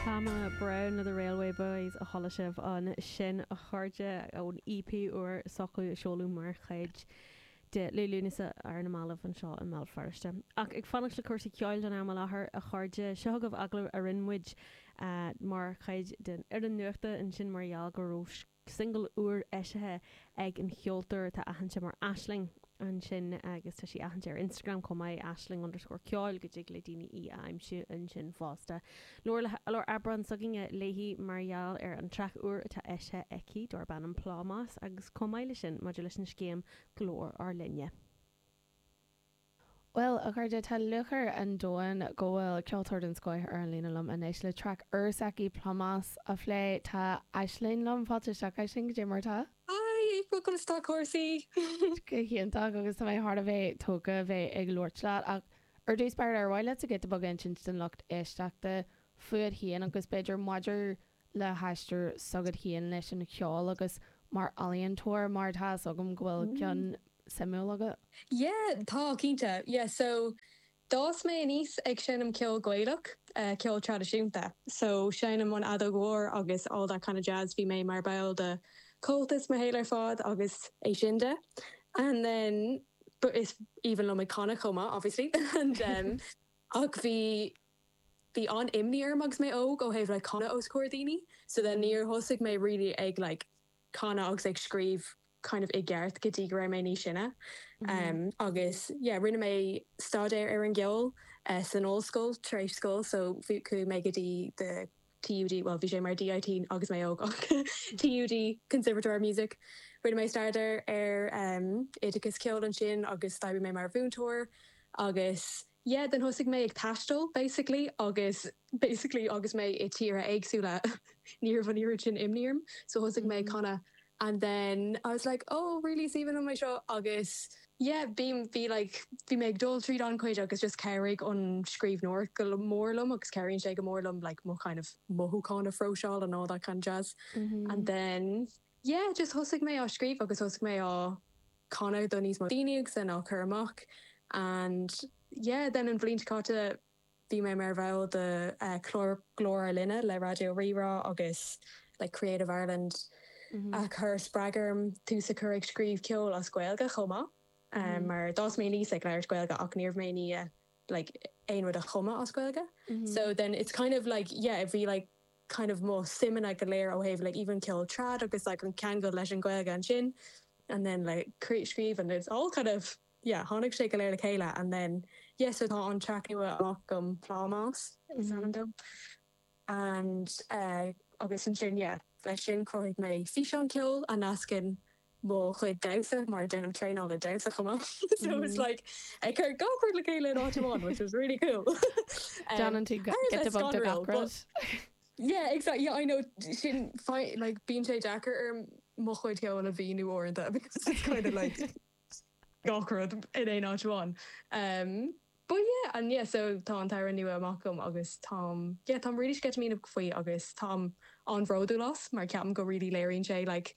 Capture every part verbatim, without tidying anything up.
Pamela Brown le The Railway Boys a chuala sibh ansin, a chairde, ón E P úr s'acu a seoladh mar chuid de Liú Lúnasa ar na mallaibh anseo i mBéal Feirste. Ach ag fanacht le cúrsaí ceoil don am i láthair, a chairde, seo agaibh agallamh a rinne muid uh, mar chuid den fhoireann nuachta ansin mar gheall go raibh single úr eisithe ag an cheoltóir atá aitheanta mar Aisling ansin, agus tá sí aitheanta ar Instagram chomh maith, aisling underscore ceoil, go dtig le daoine í a aimsiú ansin fosta. Labhair le Aibreán s'againne léi mar gheall ar an traic úr atá eisithe aici darb ainm Plámás agus chomh maith leis sin maidir leis an scéim Glór ár Linne. Well, a chairde, tá lúcháir an domhain go bhfuil ceoltóir den scoth ar an líne liom anois le traic úr s'aici, Plámás, a phlé. Tá Aisling liom. Fáilte isteach, Aisling. Goidé mar tá? Hi, conas tá cúrsaí? Go hiontach, agus tá mé thar a bheith tógtha bheith ag labhairt leat, ach ar dtús b'fhéidir ar mhaith leat giota beag insint don lucht éisteachta fút féin agus b'fhéidir maidir le haistear s'agat féin leis an cheol agus mar ealaíontóir, mar tá agam go bhfuil ceann suimiúil agat. Yeah, tá, cinnte. Yeah, so d'fhás mé aníos ag seinm ceol Gaelach, uh, ceol traidisiúnta. So seinnim an fheadóg mhór agus all that kind of jazz. Bhí mé mar ball de Comhaltas mo shaol ar fad agus é sin de. And then, but is aoibhinn liom ag canadh chomh maith, obviously. And um, ach bhí bhí an-imní orm agus mé óg ó thaobh le canadh os comhair daoine, so then níor thosaigh mé really ag like canadh agus ag scríobh kind of i gceart go dtí go raibh mé níos sine. Um, agus yeah, rinne mé staidéar ar an gceol uh, san ollscoil tar éis scoil, so chuaigh mé go dtí the T U D, well, bhí sé mar D I T agus mé óg, T U D Conservatoire of Music. Rinne mé staidéar ar um, oideachas ceoil ansin agus d'oibrigh mé mar mhúinteoir agus yeah, then thosaigh mé ag taisteal basically, agus basically agus mé i tíortha éagsúla ní raibh an oiread sin imní orm, so thosaigh mé ag canadh and then I was like, "Oh, really is aoibhinn liom é seo." Agus yeah, bhí bhí like bhí mé ag dul tríd an chuid agus just chabhraigh an scríbhneoireacht go mór liom agus cabhraíonn sé go mór liom like mo kind of mothúcháin a phróiseáil and all that kind of jazz. And then yeah, just thosaigh mé á scríobh agus thosaigh mé á canadh do níos mó daoine agus then á chur amach and yeah, then an bhliain seo caite bhí mé mar bhall de uh, chlár Glór ár Linne le Raidió Rí-Rá agus like Creative Ireland a chur spreag orm tús a chur ag scríobh ceol as Gaeilge chomh maith. Um, mar d'fhás mé aníos ag labhairt Gaeilge ach ní raibh mé ní like aon rud a chumadh as Gaeilge. So then it's kind of like, yeah, bhí like kind of mo suimeanna go léir ó thaobh like even ceol trad agus like an ceangal leis an Ghaeilge ansin and then like scríobh and it's all kind of, yeah, tháinig sé go léir le chéile. And then yeah, so tá an track nua amach agam, Plámás is ainm dó, and uh, agus ansin, yeah, leis sin chruthaigh mé físeán ceoil a nascann mo chuid damhsa, mar déanaim traenáil le damhsa chomh maith, so it's like ag cur gach rud le chéile in áit amháin, which was really cool. Déanann tú giota beag de gach rud. Yeah, exactly. Yeah, I know, sin like bíonn sé deacair ar mo chuid ceoil a mhíniú uaireanta because it's kind of like gach rud in aon áit amháin. Um, but yeah, and yeah, so tá an t-amhrán nua amach agam agus táim, yeah, táim really sceitimíneach faoi agus táim an-bhródúil as mar ceapaim go really léiríonn sé like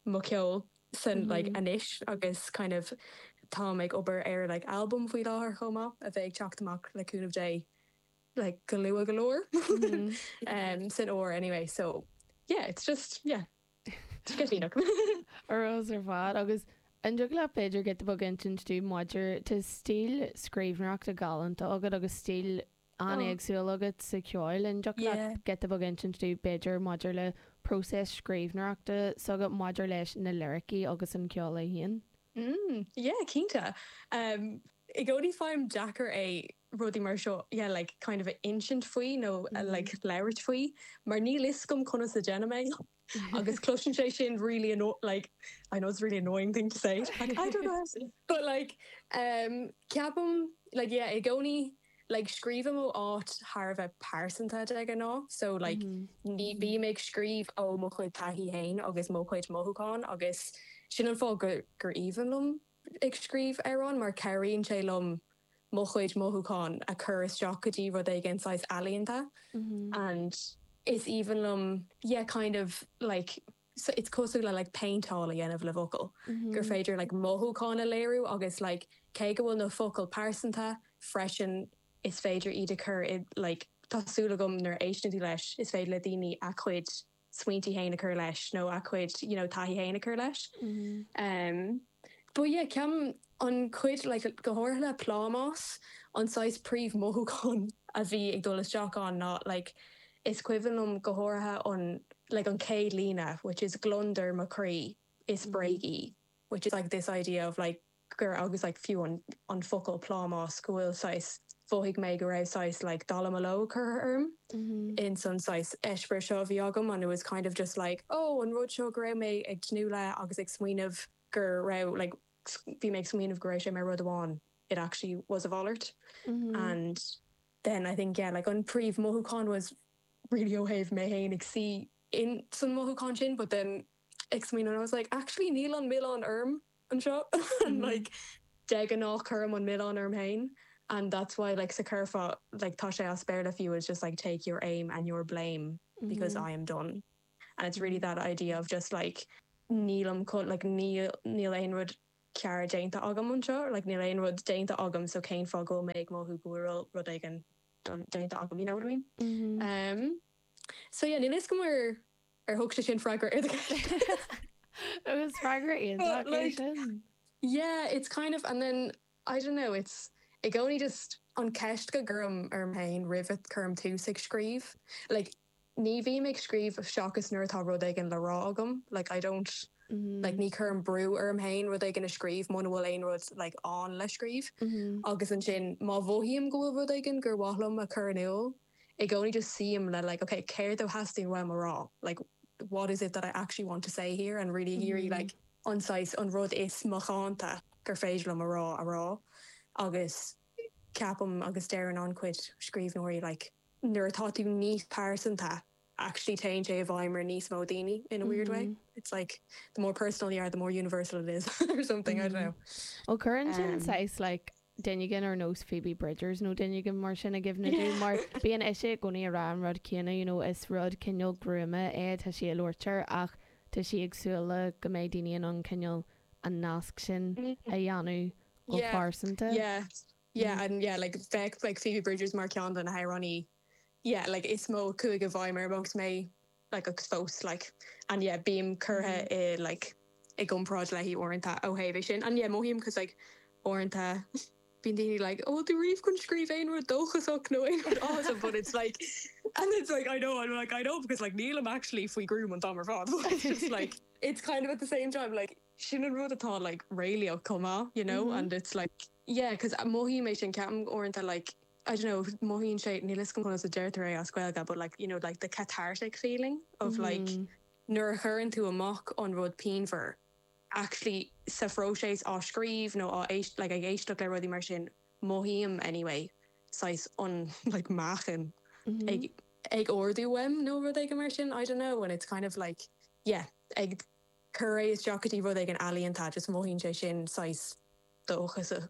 mo cheol san like anois agus kind of táim ag obair ar like album faoi láthair chomh maith a bheidh ag teacht amach le cúnamh Dé like go luath go leor um, san fhómhar anyway, so yeah, it's just, yeah, sceitimíneach. Arós ar fad. Agus an dtig leat b'fhéidir giota beag insint dúinn maidir tá stíl scríbhneoireachta galánta agat agus stíl an-éagsúil agat sa cheol, an dtig leat giota beag insint dúinn b'fhéidir maidir le próiseas scríbhneoireachta s'agat maidir leis na liricí agus an ceol é féin? Mm, yeah, cinnte. Um, I gcónaí faighim deacair é rudaí mar seo, yeah, like kind of insint faoi nó mm -hmm. like labhairt faoi, mar níl fhios agam conas a dhéanaim é. Agus cloiseann sé sin really anno like I know it's really annoying thing to say, like I don't know, but like um ceapaim like, yeah, i gcónaí like scríobhaim ó áit thar a bheith pearsanta de ghnáth, so like mm -hmm. ní bím ag scríobh ó mo chuid taithí féin agus mo chuid mothúchán, agus sin an fáth gur gur aoibhinn liom ag scríobh amhrán, mar cabhraíonn sé liom mo chuid mothúchán a chur isteach go dtí rud éigin saghas ealaíonta Mm -hmm. and is aoibhinn liom, yeah, kind of like, so it's cosúil le like péinteáil a dhéanamh le focail Mm -hmm. gur féidir like mothúchán a léiriú agus like cé go bhfuil na focail pearsanta freisin, is féidir iad a chur i like tá súil agam nuair a éisteann tú leis is féidir le daoine a chuid smaointe féin a chur leis nó a chuid you know taithí féin a chur leis. Mm -hmm. um, but yeah, ceapaim an chuid like, go háirithe le plámás an saghas príomh-mhothúchán a bhí ag dul isteach ann ná like, is cuimhin liom go háirithe an like an chéad líne, which is gliondar mo chroí is bréag í, which is like this idea of like gur agus like fiú an, an focal plámás go bhfuil saghas mhothaigh mé go raibh saghas like dallamullóg curtha orm mm -hmm. in san saghas eispéireas seo a bhí agam and it was kind of just like oh an rud seo go raibh mé ag tnúth le agus ag smaoineamh gur raibh like bhí mé ag smaoineamh go raibh sé mar rud amháin it actually was a mhalairt mm -hmm. and then I think yeah like an príomh-mhothúchán was really ó thaobh mé féin ag suí in san mothúchán sin but then ag smaoineamh I was like actually níl an milleán orm anseo and mm -hmm. like de ghnáth cuirim an milleán orm féin and that's why like sa curfá like tá sé as Béarla fiú is just like take your aim and your blame mm -hmm. because I am done and it's really that idea of just like nílim chun like níl níl aon rud ceart déanta agam anseo like níl aon rud déanta agam so cén fáth go mbeidh mothú go bhfuil rud éigin déanta agam you know what I mean mm -hmm. um so yeah níl a fhios agam ar ar thug sé sin freagra ar Agus freagra like, yeah it's kind of and then I don't know it's i gcónaí just an ceist go gcuirim orm féin roimh a chuirim tús ag scríobh like ní bhím ag scríobh seachas nuair atá rud éigin le rá agam like I don't mm -hmm. like ní chuirim brú orm féin rud éigin a scríobh muna bhfuil aon rud like ann le scríobh mm -hmm. agus ansin má mhothaím go bhfuil rud éigin gur mhaith liom a chur in iúl i gcónaí just suím le like okay céard a theastaíonn uaim a rá like what is it that I actually want to say here and really mm -hmm. like an saghas an rud is macánta gur féidir liom a rá a rá agus ceapaim agus deireann an-chuid scríbhneoirí like nuair atá tú níos pearsanta actually téann sé i bhfeidhm ar níos mó daoine in a weird mm -hmm. way it's like the more personal you are the more universal it is or something mm -hmm. I don't know Ó cuireann sin um, like duine éigin ar nós Phoebe Bridgers nó duine éigin mar sin i gcuimhne yeah. mar bíonn ise i gcónaí ag rá an rud céanna you know, is rud cineál gruama é tá sí ag labhairt ach tá sí ag súil le go mbeidh daoine in ann cineál an nasc sin a dhéanamh go pearsanta. Yeah. Yeah, mm. and yeah, like bheadh like Phoebe Bridgers mar ceann de na hamhránaithe yeah, like is mó chuaigh i bhfeidhm orm agus mé like agus fós like and yeah bím curtha mm. i like i gcomparáid léi uaireanta ó thaobh sin and yeah mothaím cos like uaireanta bíonn daoine like oh tú riamh chun scríobh aon rud dóchasach nó aon rud awesome but it's like and it's like I know I'm like I know because like nílim actually faoi ghruaim an t-am ar fad but it's just like it's kind of at the same time like sin an rud atá like réalaíoch chomh maith you know mm -hmm. and it's like yeah because mothaím é sin ceapaim uaireanta like I don't know mothaíonn sé níl a fhios agam conas a deirtear é as Gaeilge but like you know like the cathartic feeling of mm -hmm. like nuair a chuireann tú amach an rud pianmhar actually sa phróiseas á scríobh nó á éist like ag éisteacht le rudaí mar sin mothaím anyway saghas an like meáchan mm -hmm. ag ag ardú uaim nó rud éigin mar sin I don't know and it's kind of like yeah ag cur é isteach go dtí rud éigin ealaíonta just mothaíonn sé sin saghas dóchasach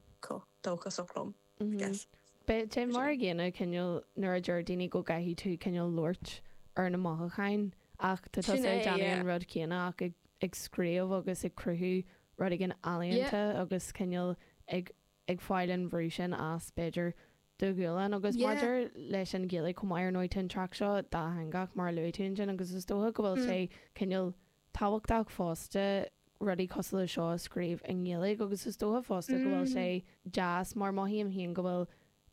dóchasach liom mm -hmm. guess. Bíonn sé mar an gcéanna cineál nuair a deir daoine go gcaithfidh tú cineál labhairt ar na mothúcháin ach tá tusa ag déanamh an rud céanna ach ag ag scríobh agus ag cruthú rud éigin ealaíonta agus cineál ag ag fáil an bhrú sin as b'fhéidir do ghualainn agus maidir leis an Ghaeilge chomh maith ar ndóigh tá an traic seo dátheangach mar a luaigh tú ansin agus is dócha go bhfuil sé cineál tábhachtach fosta rudaí cosúil le seo a scríobh i nGaeilge agus is dócha fosta go bhfuil sé deas mar mothaím féin go bhfuil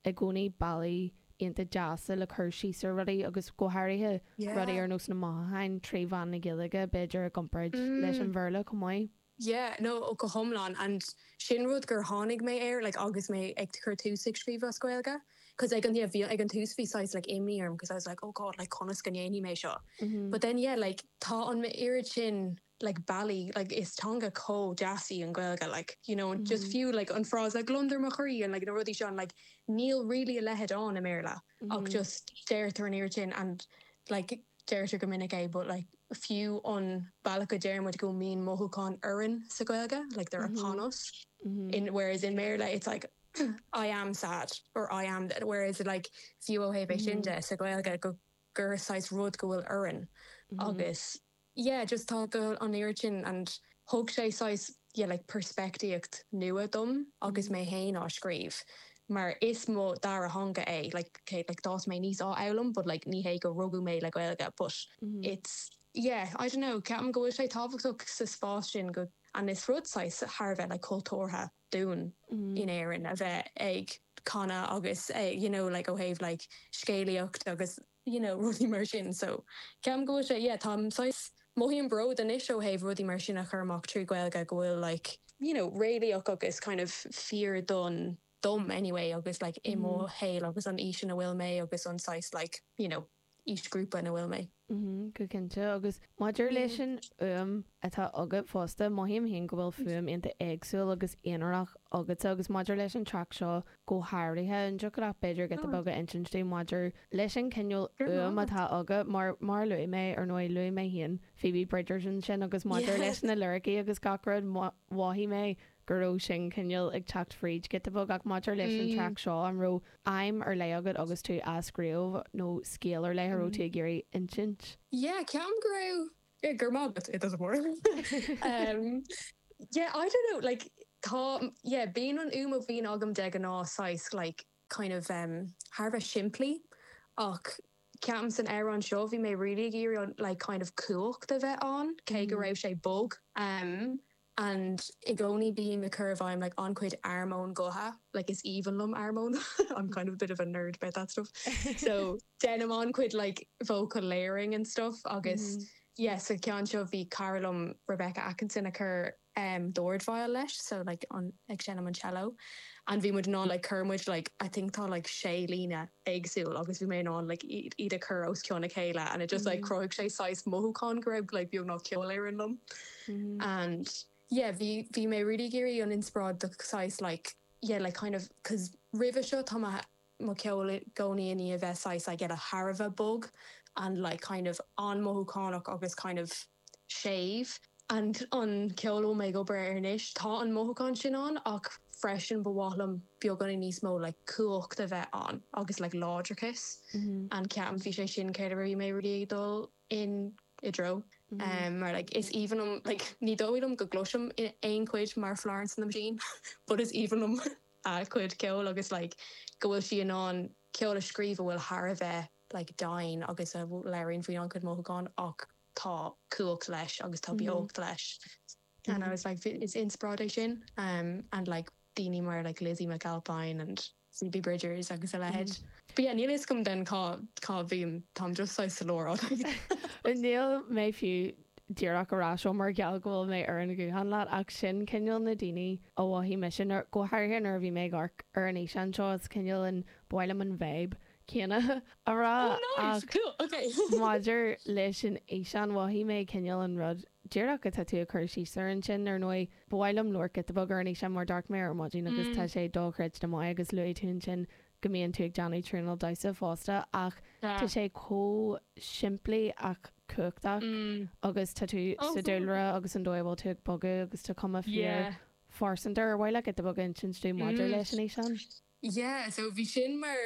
i gcónaí bealaí iontach deasa le cur síos ar rudaí agus go háirithe rudaí ar nós na mothúcháin trí mheán na Gaeilge b'fhéidir i gcomparáid leis an Bhéarla chomh maith. Yeah, no go hiomlán and sin rud gur tháinig mé air like agus mé ag cur tús ag scríobh as Gaeilge cos ag an yeah bhí ag an tús bhí saghas like imní orm cos I was like oh god like conas go ndéanfaidh mé seo mm -hmm. but then yeah like tá an oiread sin like bealaí like is teanga chomh deas í an Ghaeilge like you know mm -hmm. just fiú like an frása gliondar mo chroí and like na rudaí sin like níl really a leithéid ann i mBéarla mm -hmm. ach just deirtear an oiread sin and like deirtear go minic é but like fiú an bealach go deirimid go mbíonn mothúcháin orainn sa Ghaeilge like they're mm -hmm. upon us mm -hmm. in whereas in Béarla it's like I am sad or I am whereas like fiú ó thaobh mm -hmm. sin de sa Ghaeilge go gur saghas rud go bhfuil orainn mm -hmm. agus yeah just tá go an oiread sin and thug sé saghas yeah like peirspictíocht nua dom agus mé féin á scríobh mar is mo dara theanga é like okay, like d'fhás mé aníos á fhoghlaim but like ní hé go rugadh mé le Gaeilge but mm -hmm. it's yeah I don't know ceapaim go bhfuil sé tábhachtach sa spás sin go an is rud saghas thar a bheith like cultúrtha dúinn mm -hmm. in Éirinn a bheith ag canadh agus eh, you know like ó thaobh like scéalaíocht agus you know rudaí mar sin so ceapaim go bhfuil sé yeah táim saghas mothaím bród anois ó thaobh rudaí mar sin a chur amach trí Ghaeilge go bhfuil like you know réalaíoch agus kind of fíor don dom anyway agus like i mo mm. shaol agus an aois ina bhfuil mé agus an saghas like you know aoisghrúpa ina bhfuil mé. Mm-hmm, go cinnte agus maidir leis an fhuaim atá agat fosta mothaím féin go bhfuil fuaim iontach éagsúil agus aonarach agat agus maidir leis an traic seo go háirithe an dtiocfadh leat b'fhéidir giota beag a insint dúinn maidir leis an cineál uaim atá agat mar mar luaigh mé ar ndóigh luaigh mé féin Phoebe Bridgers ansin agus maidir leis na liricí agus gach rud mhothaigh mé go raibh sin cineál ag teacht fríd giota beag ach maidir leis an traic seo an raibh aidhm ar leith agat agus tú á scríobh nó scéal ar leith a raibh tú ag iarraidh insint? Yeah, ceapaim go raibh yeah, gur maith it doesn't work. um, yeah, I don't know, like tá yeah, bíonn an fhuaim a bhíonn agam de ghnáth saghas like kind of um, thar a bheith simplí ach ceapaim san amhrán seo bhí mé really ag iarraidh like kind of cumhacht a bheith ann cé go raibh sé bog. Um, and i gcónaí bím ag cur i bhfeidhm like an-chuid armóin gutha like is aoibhinn liom armóin I'm kind of a bit of a nerd about that stuff so déanaim an-chuid like vocal layering and stuff agus mm -hmm. yes sa ceann seo bhí cara liom Rebecca Atkinson a chur um, dordveidhil leis so like an ag seinm an cello and bhí muid in ann like chuir muid like I think tá like sé líne éagsúil agus bhí mé in ann like iad a chur os cionn a chéile and it just like mm -hmm. chruthaigh sé saghas mothúchán go raibh like beagnach ceolfhoireann liom mm -hmm. and yeah bhí bhí mé really ag iarraidh an inspioráid do saghas like yeah like kind of cause roimhe seo tá mo cheol i gcónaí i ndiaidh a bheith saghas like yeah thar a bheith bog and like kind of an-mhothúchánach agus kind of séimh and an ceol a bhfuil mé ag obair air anois tá an mothúchán sin ann ach freisin ba mhaith liom beagáinín níos mó like cumhacht a bheith ann agus like láidreachas mm -hmm. and ceapaim bhí sé sin céard a bhí mé really ag dul in i dtreo mm -hmm. um, mar like is aoibhinn liom like ní dóigh liom go gcloisim in aon chuid mar Florence and the Machine but is aoibhinn liom a cuid ceoil agus like go bhfuil sí in ann ceol a scríobh a bhfuil thar a bheith like domhain agus a léiríonn faoi an-chuid mothúchán ach tá cumhacht leis agus tá beocht leis. Mm -hmm. And I was like is inspioráid é sin um, and like daoine mar like Lizzie McAlpine and Phoebe Bridgers agus a leithéid. Mm -hmm. But yeah, níl a fhios agam den cá cá bhím táim just saghas sa lár. Níl mé fiú díreach ará seo mar gheall go bhfuil mé ar an ghuthán leat ach sin cineál na daoine a mhothaigh mise nuair go háirithe nuair a bhí mé ag amharc ar an fhíseán seo is cineál an ba mhaith liom an vibe céanna a rá Oh, cool. Okay. Maidir leis an fhíseán mhothaigh mé cineál an rud díreach atá tú ag cur síos air ansin ar ndóigh ba mhaith liom labhairt giota beag ar an fhíseán mar d'amharc mé ar maidin agus tá sé dochreidte maith agus luaigh tú ansin go mbíonn tú ag déanamh traenáil damhsa fosta ach tá sé chomh simplí ach cumhachtach agus tá tú sa dúlra agus an dóigh a bhfuil tú ag bogadh agus tá cuma fíor phearsanta ar mhaith leat giota beag a insint dúinn maidir leis an fhíseán? Yeah, so bhí sin mar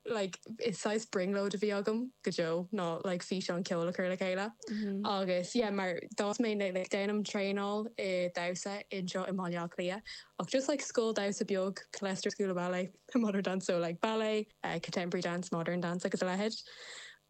like is saghas brionglóid a bhí agam go deo ná like físeán ceoil a chur le chéile agus yeah mar d'fhás mé like déanaim traenáil i damhsa anseo i mBaile Átha Cliath ach just like scoil damhsa beag Killester School of Ballet modern dance so like ballet uh, contemporary dance modern dance agus a leithéid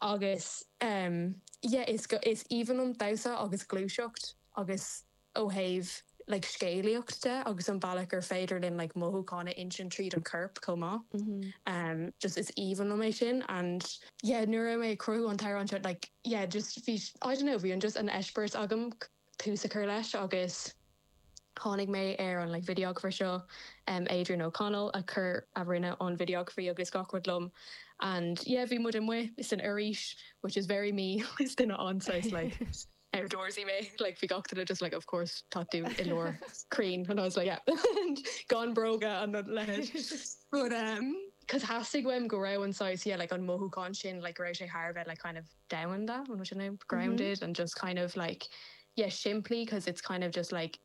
agus um, yeah is go is aoibhinn liom damhsa agus gluaiseacht agus ó thaobh like scéalaíocht de agus an bealach gur féidir linn like mothúchán a insint tríd an corp chomh maith. Um, just is aoibhinn liom é sin and yeah nuair a mé cruthú an t-amhrán seo like yeah just bhí I don't know bhí an just an eispéireas agam tús a chur leis agus tháinig mé ar an like videographer seo um, Adrian O'Connell a chur a rinne an videography agus gach rud liom and yeah bhí muid amuigh san fhoraois which is very me is duine an-saghas like outdoorsy mé like bhí gach duine just like of course tá tú i lár crainn and I was like yeah and gan bróga an leithéid but um cos theastaigh uaim go raibh an saghas yeah like an mothúchán sin like go raibh sé thar a bheith like kind of domhanda an sin grounded and just kind of like yeah simply cause it's kind of just like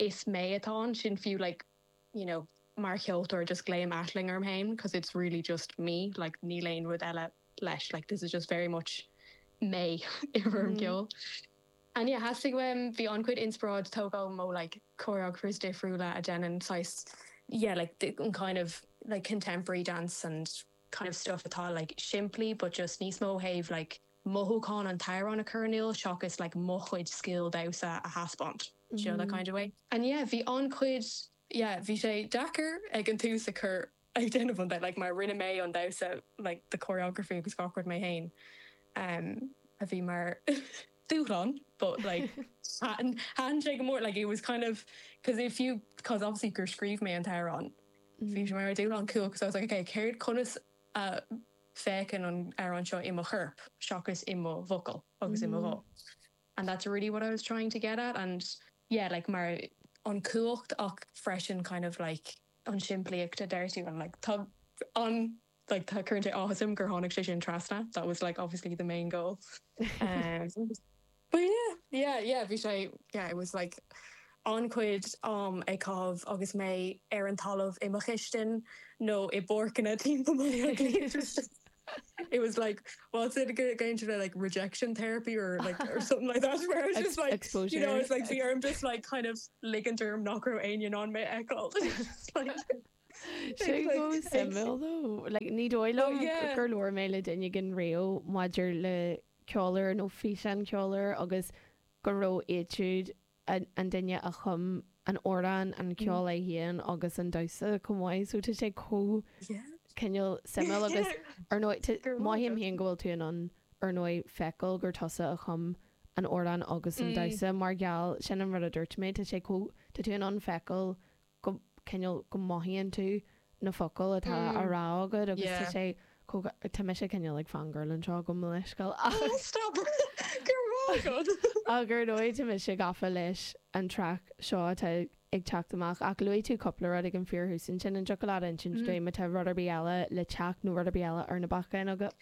is mé atá ansin fiú like you know mar cheoltóir just glaoim Aisling orm féin cause it's really just me like níl aon rud eile leis like this is just very much mé i bhfoirm ceoil. And yeah theastaigh uaim bhí an-chuid inspioráid tógtha ó like choreographers difriúla a déanann saghas yeah like the, an kind of like contemporary dance and kind of stuff atá like simplí but just níos mó thaobh like mothúchán an t-amhrán a chur in iúl seachas like mo chuid scil damhsa a thaispeáint you know, that kind of way. And yeah, bhí an-chuid yeah, bhí sé deacair ag an tús a chur ag déanamh an like mar rinne mé an damhsa like the choreography agus gach rud mé féin um, a bhí mar dúshlán but like thaitin sé go mór like it was kind of because if you cause obviously gur scríobh mé an t-amhrán bhí sé mar dúshlán cool because I was like okay céard conas a féachann an amhrán seo i mo chorp seachas i mo bhfocail agus i mo ghuth and that's really what I was trying to get at and yeah like mar an cumhacht ach freisin kind of like an simplíocht a deir tú and like tá an like tá current áthas orm gur tháinig sé sin trasna that was like obviously the main goal um, but yeah yeah yeah bhí sé yeah it was like an-chuid am ag caitheamh agus mé ar an talamh i mo chistin nó i bpáirceanna timpeall It was like what's it going to like rejection therapy or like or something like that where it's just like exposure. you know it's like bhí orm just like kind of ligint orm nach raibh éinne in ann mé a fheiceáil like Sé go suimiúil though like ní dóigh liom Oh, yeah. gur labhair mé le duine éigin riamh maidir le ceoltóir nó físeán ceoltóir agus go raibh étude an an duine a chum an amhrán an ceol é féin agus an damhsa chomh maith so tá sé chomh yeah cineál suimiúil agus ar ndóigh Gur mothaím maith féin go bhfuil tú in ann ar ndóigh feiceáil gur tusa a chum an amhrán agus an Mm. damhsa mar gheall sin an rud a dúirt mé tá sé chomh tá tú in ann feiceáil go cineál go mothaíonn tú na focail atá Mm. á rá agat agus tá Yeah. sé tá mise cineál ag fangirl anseo go leiscail Oh, stop Gur maith agat. agur ndóigh tá mise gafa leis an track seo atá ag teacht amach ach luaigh tú cúpla rud ag an fíorthús sin an dtiocfadh leat insint Mm. dúinn má tá rud ar bith eile le teacht nó rud ar bith eile ar na bacáin agat.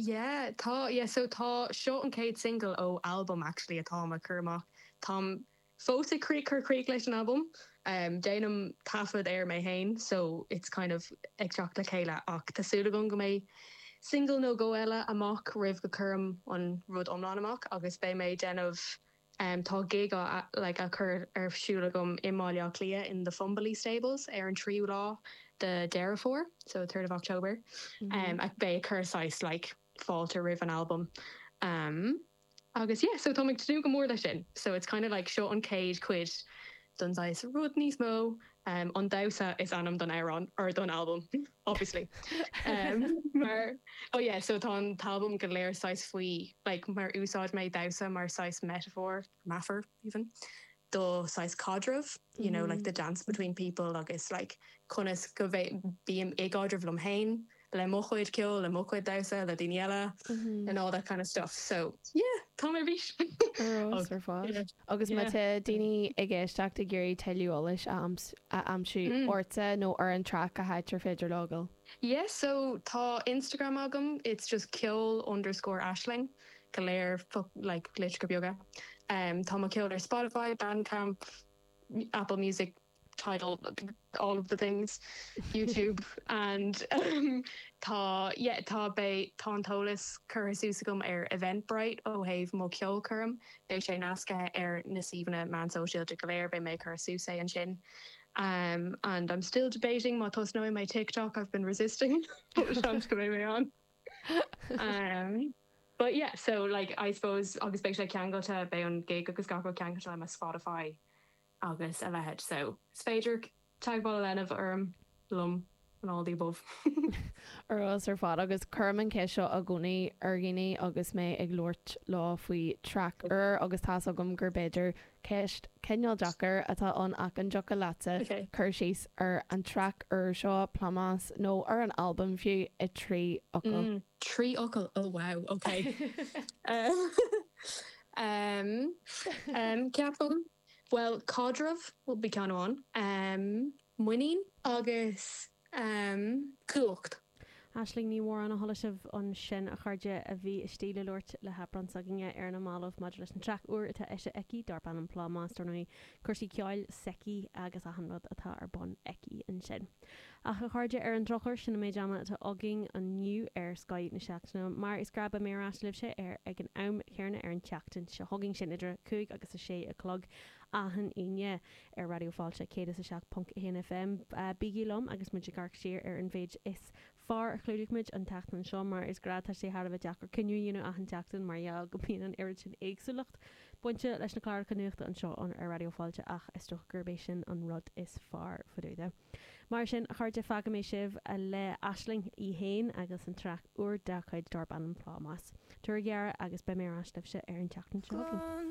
Yeah, tá yeah, so tá seo an chéad single ó album actually atá ag cur amach. Táim fós ag crí chur críoch leis an album. Um, déanaim taifead air mé féin, so it's kind of ag teacht le chéile ach tá súil agam go mbeidh single nó dhó eile amach roimh go gcuirim an rud iomlán amach agus beidh mé déanamh um, tá gig á like, a chur ar siúl agam i mBaile Átha Cliath in the Fumbally Stables ar an tríú lá de Deireadh Fómhair, so third of October. Um, ach beidh cur saghas like fáilte roimh an album. Um, agus yeah, so tá ag tnúth go mór leis sin. So it's kind of like seo an chéad chuid don saghas rud níos mó um, an damhsa is ainm don amhrán or don album obviously. Um, mar oh yeah, so tá an t-album go léir saghas faoi like mar úsáid mé damhsa mar saghas metaphor meafar even do saghas caidreamh, you know, like the dance between people agus like conas go bím i gcaidreamh liom féin le mo chuid ceoil le mo chuid damhsa le daoine eile and all that kind of stuff. So yeah, tá mé bhís. ar fad. Agus má Yeah. tá daoine ag éisteacht ag iarraidh tuilleadh eolais a aims- a aimsiú Mm. ortsa nó ar an track cá háit ar féidir leo dul. Yeah, so tá Instagram agam, it's just ceol underscore Aisling, go léir fu- like litreacha beaga. Um, tá mo ceol ar Spotify, Bandcamp, Apple Music, Tidal, all of the things, YouTube, and um, tá yeah, tá beidh tá an t-eolas curtha suas agam ar Eventbrite ó thaobh mo cheolchoirm, beidh sé nasctha ar na suíomhanna meán sóisialta go léir beidh mé cur suas é ansin. Um, and I'm still debating má tosnóidh mé TikTok I've been resisting seans go mbeidh mé ann. Um, but yeah, so like I suppose agus beidh sé ceangailte beidh an gig agus gach rud ceangailte le mo Spotify agus a leithéid. So is féidir teagmháil a dhéanamh orm liom and all the above. Ar ar fad agus cuirim an cheist seo i gcónaí ar dhaoine agus mé ag labhairt leo faoi track úr agus tá agam gur b'fhéidir ceist cineál deacair atá ann ach an dtiocfadh leatsa Okay. cur síos ar an track úr seo Plámás nó ar an album fiú i trí fhocal. Mm, trí fhocal. Oh wow, okay. um, um, um, ceapaim. Well, caidreamh will be ceann amháin. Um, muinín agus um, cumhacht. Aisling Ní Mhóráin a chuala sibh ansin a chairde a bhí istigh le labhairt le hAibreán s'againne ar na mallaibh maidir leis an track úr atá eisithe aici darb ainm Plámás nó cúrsaí ceoil s'aici agus achan rud atá ar bun aici ansin. Ach a chairde, ar an drochuair, sin an méid ama atá againn inniu ar Scoth na Seachtaine. Mar is gnáth beidh mé ar ais libhse ar ag an am céanna ar an tseachtain seo chugainn, sin idir a cúig agus a sé a chlog achan Aoine ar Raidió Fáilte céad is a seacht ponc a haon F M. Bígí liom agus muid ag amharc siar ar an mhéid is fearr a chlúdaigh muid an tseachtain seo. Mar is gnáth, tá sé thar a bheith deacair cinneadh a dhéanamh achan tseachtain mar gheall go mbíonn an oiread sin éagsúlacht bainte leis na cláracha nuachta anseo ar Raidió Fáilte, ach is dócha gurb é sin an rud is fearr faoi deara. Mar sin, a chairde, fágfaidh mé sibh le Aisling í féin agus an traic úr dá cuid darb ainm Plámás. Tabhair aire agus beidh mé ar ais libhse ar an tseachtain seo chugainn.